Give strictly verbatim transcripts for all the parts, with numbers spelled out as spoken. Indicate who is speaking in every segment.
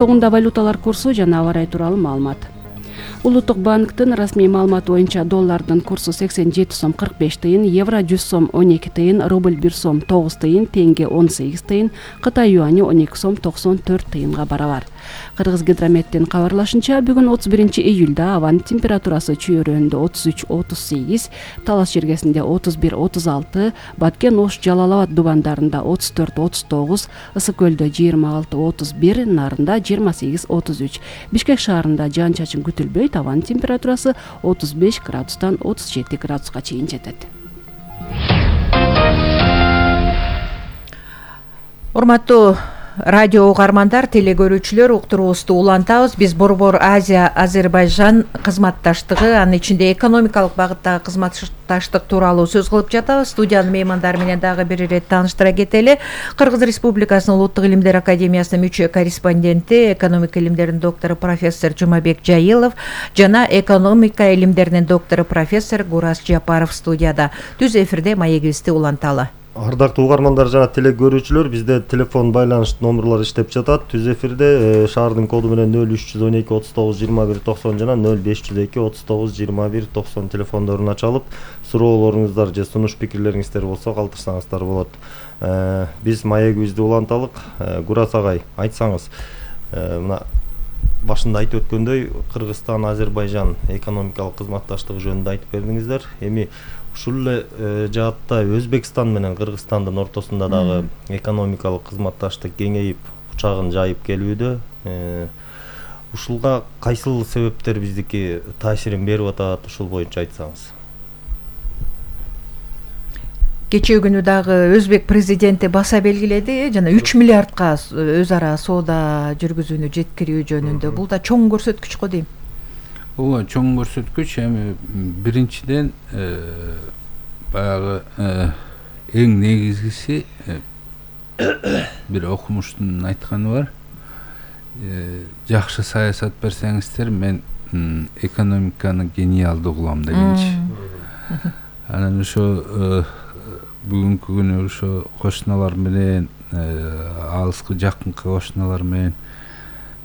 Speaker 1: Тогунда валюталар курсу жана аба ырайы тууралуу маалымат. Улуттук банктын расмий маалыматы боюнча доллардын курсу сексен жети сом кырк беш тыйын, евро жүз сом он эки тыйын, рубль бир сом тогуз тыйын, тенге он сегиз тыйын, Кытай юани он эки сом токсон төрт тыйынга барабар. Кыргыз гидрометтин кабарлашынча, бүгүн отуз биринчи июлда абанын температурасы чүй өрөөнүндө отуз үч отуз сегиз, Талас жергесинде отуз бир отуз алты, Баткен Ош Жалал Абад дубандарында отуз төрт отуз тогуз, Ысык көлдө жыйырма алты отуз бир, Нарында жыйырма сегиз отуз үч. Бишкек шаарында жаан чачын күтүлбөйт, абанын температурасы отуз беш градустан отуз жети градуска чейин жетет.
Speaker 2: Урматтуу радио угармандар, телегөрүүчүлөр, уктуруубузду улантабыз. Биз Борбор Азия Азербайжан кызматташтыгы, анын ичинде экономикалык багыттагы кызматташтык тууралуу сөз кылып жатабыз. Студиянын меймандары менен дагы бир ирет тааныштыра кетели. Кыргыз Республикасынын Улуттук илимдер академиясынын мүчө корреспонденти, экономика илимдеринин доктору профессор Жумабек Жайылов жана экономика илимдеринин доктору профессор Гурас Жапаров студияда. Түз эфирде маегибизди уланталы.
Speaker 3: Ардактуу угармандар жана телегөрүүчүлөр, бизде телефон байланыш номерлары иштеп жатат. Түз эфирде шаардын коду менен нөл үч жүз он эки отуз тогуз жыйырма бир токсон жана нөл беш жүз эки отуз тогуз жыйырма бир токсон телефондорун ачалып, суроолоруңуздар же сунуш пикирлериңиздер болсо калтырсаңыздар болот. Биз маегибизди уланталык. Гурас агай, айтсаңыз, мына башында айтып өткөндөй, Кыргызстан Азербайжан экономикалык кызматташтыгы жөнүндө айтып бердиңиздер. Эми ушул эле жаатта Өзбекстан менен Кыргызстандын ортосунда дагы экономикалык кызматташтык кеңейип, учагын жайып келүүдө. Ушулга кайсыл себептер биздики таасирин берип атат, ушул боюнча айтсаңыз.
Speaker 2: Кечээ күнү дагы Өзбек президенти баса белгиледи, жана үч миллиардка өз ара соода жүргүзүүнү жеткирүү жөнүндө. Бул да чоң көрсөткүч го дейм.
Speaker 4: Ооба, чоң көрсөткүч. Эми биринчиден баягы эң негизгиси бир окумуштун айтканы бар. Жакшы саясат берсеңиздер, мен экономиканы гениалдуу кылам дегенчи. Анан ошо бүгүнкү күнү ошо кошуналар менен, алыскы жакынкы кошуналар менен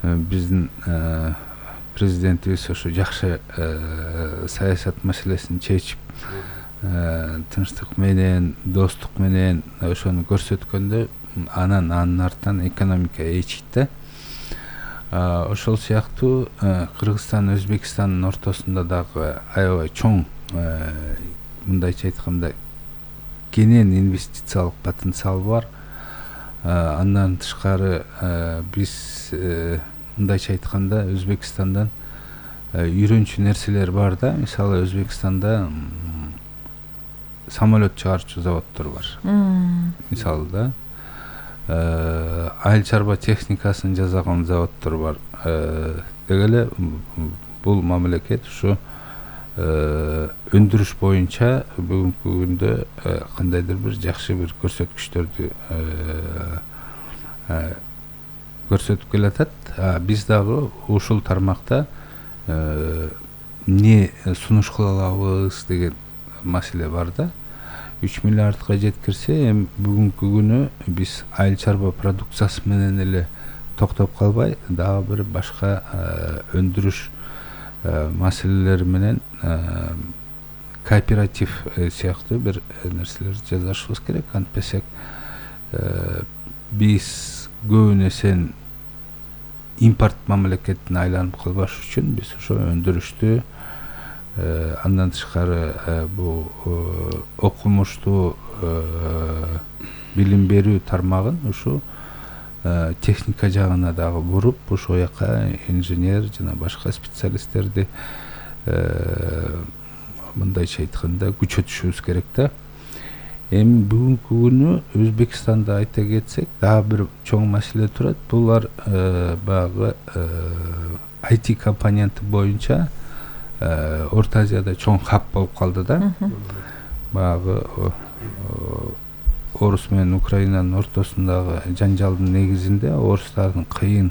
Speaker 4: биздин президентибиз ошо жакшы саясат маселесин чечип, тынчтык менен, достук менен ошону көрсөткөндө, анан анын артынан экономика ээчийт да. Ошол сыяктуу Кыргызстан, Өзбекстандын ортосунда дагы аябай чоң, мындайча айтканда, кенен инвестициялык потенциал бар. Андан тышкары биз, мындайча айтканда, Өзбекстандан үйрөнчү нерселер бар да. Мисалы, Өзбекстанда самолет чыгарчу заводдор бар. Мисалы да, айыл чарба техникасын жасаган заводдор бар. Деги эле бул мамлекет ушу өндүрүш боюнча бүгүнкү күндө кандайдыр бир жакшы бир көрсөткүчтөрдү көрсөтүп келатат. Биз дагы ушул тармакта эмне сунуш кыла алабыз деген маселе бар да. үч миллиардка жеткирсе, эми бүгүнкү күнү биз айыл чарба продукциясы менен эле токтоп калбай, дагы бир башка өндүрүш маселелери менен кооператив сыяктуу бир нерселерди жасашыбыз керек. Антпесек биз көбүн эсен импорт мамлекетине айланып калбаш үчүн биз ошо өндүрүштү, андан тышкары бул окумуштуу билим берүү тармагын ушу техника жагына дагы буруп, ошол жака инженер жана башка специалисттерди мындайча айтканда күчөтүшүбүз керек да. Эми бүгүнкү күнү Өзбекстанда айта кетсек, дагы бир чоң маселе турат. Булар баягы ай ти компоненти боюнча Орто Азияда чоң хаб болуп калды да. Баягы Орус менен Украинанын ортосундагы жанжалдын негизинде орустардын кыйын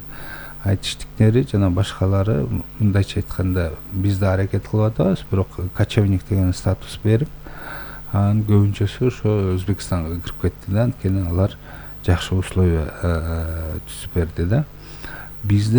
Speaker 4: айтыштыктери жана башкалары, мындайча айтканда, биз да аракет кылып атабыз, бирок кочевник деген статус берип, анын көбүнчөсү ошо Өзбекстанга кирип кетти да. Анткени алар жакшы условия түзүп берди да. бизде